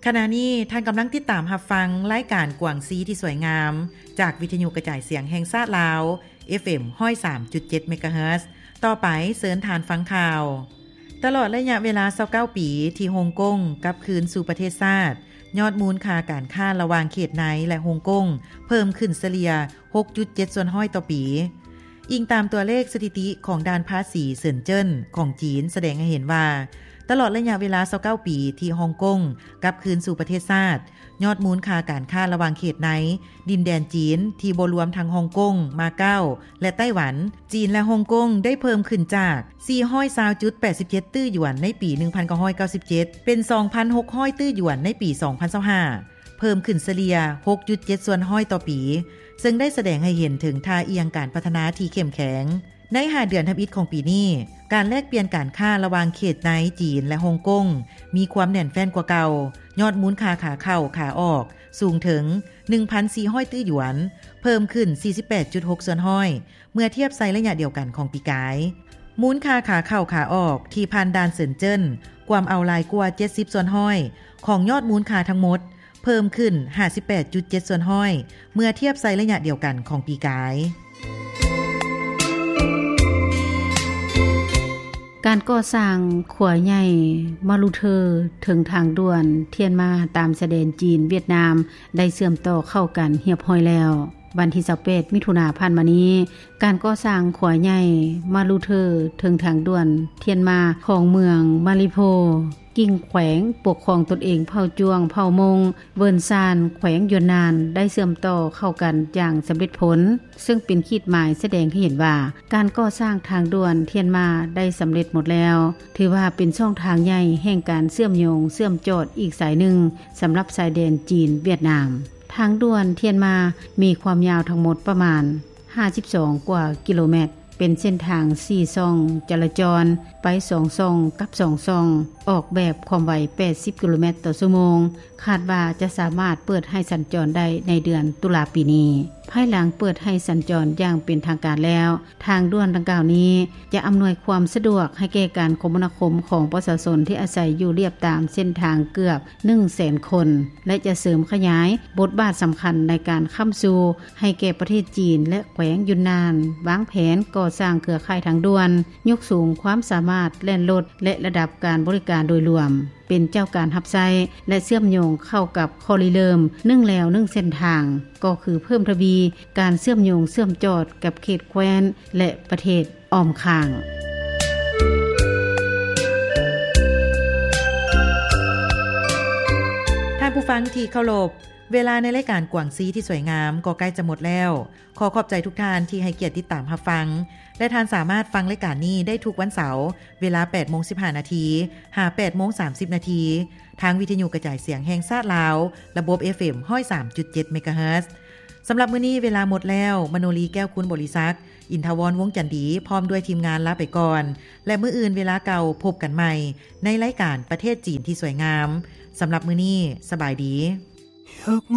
ຂະນະນີ້ທ່ານກຳລັງຕິດຕາມຮັບຟັງລາຍການກວາງຊີທີ່ສວຍງາມ ຈາກວິທະຍຸກະຈາຍສຽງແຫ່ງຊາດລາວ ເອັຟເອັມ ຮ້ອຍສາມຈຸດເຈັດ ເມກາເຮີດ. ຕໍ່ໄປເຊີນທ່ານຟັງຂ່າວ. ຕະຫຼອດໄລຍະເວລາຊາວເກົ້າປີທີ່ຮົງກົງກັບຄືນສູ່ປະເທດຊາດ, ຍອດມູນຄ່າການຄ້າລະຫວ່າງເຂດໃນ ແລະ ຮົງກົງ ເພີ່ມຂຶ້ນສະເລ່ຍ ຫົກຈຸດເຈັດສ່ວນຮ້ອຍຕໍ່ປີ. ອີງຕາມຕົວເລກສະຖິຕິຂອງດ່ານພາສີເຊິນເຈິນຂອງຈີນ ສະແດງໃຫ້ເຫັນວ່າ ຕະຫຼອດໄລຍະເວລາຊາວເກົ້າປີທີ່ຮົງກົງກັບຄືນສູ່ປະເທດຊາດ, ຍອດມູນຄ່າການຄ້າລະຫວ່າງເຂດໃນ ດິນແດນຈີນທີ່ບໍ່ລວມທັງຮົງກົງ, ມາເກົາ ແລະ ໄຕ້ຫວັນ, ຈີນ ແລະ ຮົງກົງ ໄດ້ເພີ່ມຂຶ້ນຈາກ ສີ່ຮ້ອຍຊາວຈຸດແປດສິບເຈັດຕື້ຢວນໃນປີໜຶ່ງພັນເກົ້າຮ້ອຍເກົ້າສິບເຈັດ ເປັນ ສອງພັນຫົກຮ້ອຍຕື້ຢວນໃນປີສອງພັນຊາວຫ້າ ເພີ່ມຂຶ້ນສະເລ່ຍ ຫົກຈຸດເຈັດສ່ວນຮ້ອຍຕໍ່ປີ, ເຊິ່ງໄດ້ສະແດງໃຫ້ເຫັນເຖິງທ່າອ່ຽງການພັດທະນາທີ່ເຂັ້ມແຂງ. ໃນຫ້າເດືອນທຳອິດຂອງປີນີ້, ການແລກປ່ຽນການຄ້າລະຫວ່າງເຂດໃນຈີນ ແລະ ຮົງກົງ ມີຄວາມແໜ້ນແຟ້ນກວ່າເກົ່າ, ຍອດມູນຄ່າຂາເຂົ້າຂາອອກສູງເຖິງ ໜຶ່ງພັນສີ່ຮ້ອຍຕື້ຢວນ, ເພີ່ມຂຶ້ນ ສີ່ສິບແປດຈຸດຫົກສ່ວນຮ້ອຍ ເມື່ອທຽບໃສ່ໄລຍະດຽວກັນຂອງປີກາຍ. ມູນຄ່າຂາເຂົ້າຂາອອກທີ່ຜ່ານດ່ານເຊິນເຈິນ ກວມເອົາຫຼາຍກວ່າ ເຈັດສິບສ່ວນຮ້ອຍ ຂອງຍອດມູນຄ່າທັງໝົດ, ເພີ່ມຂຶ້ນ ຫ້າສິບແປດຈຸດເຈັດສ່ວນຮ້ອຍ ເມື່ອທຽບໃສ່ໄລຍະດຽວກັນຂອງປີກາຍ. ການກໍ່ສ້າງຂົວໃຫຍ່ມາລຸເທີ ເທິງທາງດ່ວນທຽນມາ ຕາມຊາຍແດນຈີນ-ຫວຽດນາມ ໄດ້ເຊື່ອມຕໍ່ເຂົ້າກັນຮຽບຮ້ອຍແລ້ວ. ວັນທີຊາວແປດ ມິຖຸນາຜ່ານມານີ້, ການກໍ່ສ້າງຂົວໃຫຍ່ມາລຸເທີ ເທິງທາງດ່ວນທຽນມາ ຂອງເມືອງມາລີໂພ ກິ່ງແຂວງປົກຄອງຕົນເອງເຜົ່າຈວງ, ເຜົ່າມົ້ງ, ເວີນຊານ, ແຂວງຢວນນານ ໄດ້ເຊື່ອມຕໍ່ເຂົ້າກັນຢ່າງສຳເລັດຜົນ, ເຊິ່ງເປັນຂີດໝາຍສະແດງໃຫ້ເຫັນວ່າ ການກໍ່ສ້າງທາງດ່ວນທຽນມາໄດ້ສຳເລັດໝົດແລ້ວ, ຖືວ່າເປັນຊ່ອງທາງໃຫຍ່ແຫ່ງການເຊື່ອມໂຍງເຊື່ອມຈອດອີກສາຍໜຶ່ງ ສຳລັບຊາຍແດນຈີນ-ຫວຽດນາມ. ທາງດ່ວນທຽນມາມີຄວາມຍາວທັງໝົດປະມານ ຫ້າສິບສອງກວ່າກິໂລແມັດ, ເປັນເສັ້ນທາງສີ່ຊ່ອງຈະລາຈອນ, ໄປສອງຊ່ອງກັບສອງຊ່ອງ, ອອກແບບຄວາມໄວແປດສິບກິໂລແມັດຕໍ່ຊົ່ວໂມງ, ຄາດວ່າຈະສາມາດເປີດໃຫ້ສັນຈອນໄດ້ໃນເດືອນຕຸລາປີນີ້. ພາຍຫຼັງເປີດໃຫ້ສັນຈອນຢ່າງເປັນທາງການແລ້ວ, ທາງດ່ວນດັ່ງກ່າວນີ້ຈະອຳນວຍຄວາມສະດວກໃຫ້ແກ່ການຄົມມະນາຄົມຂອງປະຊາຊົນທີ່ອາໄສຢູ່ລຽບຕາມເສັ້ນທາງເກືອບໜຶ່ງແສນຄົນ ແລະ ຈະເສີມຂະຫຍາຍບົດບາດສຳຄັນໃນການຄ້ຳຊູ ໃຫ້ແກ່ປະເທດຈີນ ແລະ ແຂວງຢຸນນານ ວາງແຜນກໍ່ສ້າງເຄືອຂ່າຍທາງດ່ວນ, ຍົກສູງຄວາມສາມາດແລ່ນລົດ ແລະ ລະດັບການບໍລິການໂດຍລວມ, ເປັນເຈົ້າການຮັບໃຊ້ ແລະ ເຊື່ອມໂຍງເຂົ້າກັບຂໍ້ລິເລີ່ມໜຶ່ງແລວໜຶ່ງເສັ້ນທາງ, ກໍຄືເພີ່ມທະວີການເຊື່ອມໂຍງເຊື່ອມຈອດກັບເຂດແຄວ້ນ ແລະ ປະເທດອ້ອມຂ້າງ. ທ່ານຜູ້ຟັງທີ່ເຄົາລົບ, ເວລາໃນລາຍການກວາງຊີທີ່ສວຍງາມກໍໃກ້ຈະໝົດແລ້ວ. ຂໍຂອບໃຈທຸກທ່ານທີ່ໃຫ້ກຽດຕິດຕາມຮັບຟັງ ແລະ ທ່ານສາມາດຟັງລາຍການນີ້ໄດ້ທຸກວັນເສົາ ເວລາແປດໂມງສິບຫ້ານາທີ ຫາ ແປດໂມງສາມສິບນາທີ ທາງວິທະຍຸກະຈາຍສຽງແຫ່ງຊາດລາວ ລະບົບ ເອັຟເອັມ ຮ້ອຍສາມຈຸດເຈັດ ເມກາເຮີດ. ສຳລັບມື້ນີ້ເວລາໝົດແລ້ວ, ມະໂນລີ ແກ້ວຄູນບໍລິສັກ, ອິນທະວອນ ວົງຈັນດີ ພ້ອມດ້ວຍທີມງານລາໄປກ່ອນ ແລະ ມື້ອື່ນເວລາເກົ່າພົບກັນໃໝ່ໃນລາຍການປະເທດຈີນທີ່ສວຍງາມ. ສຳລັບມື້ນີ້ ສະບາຍດີ.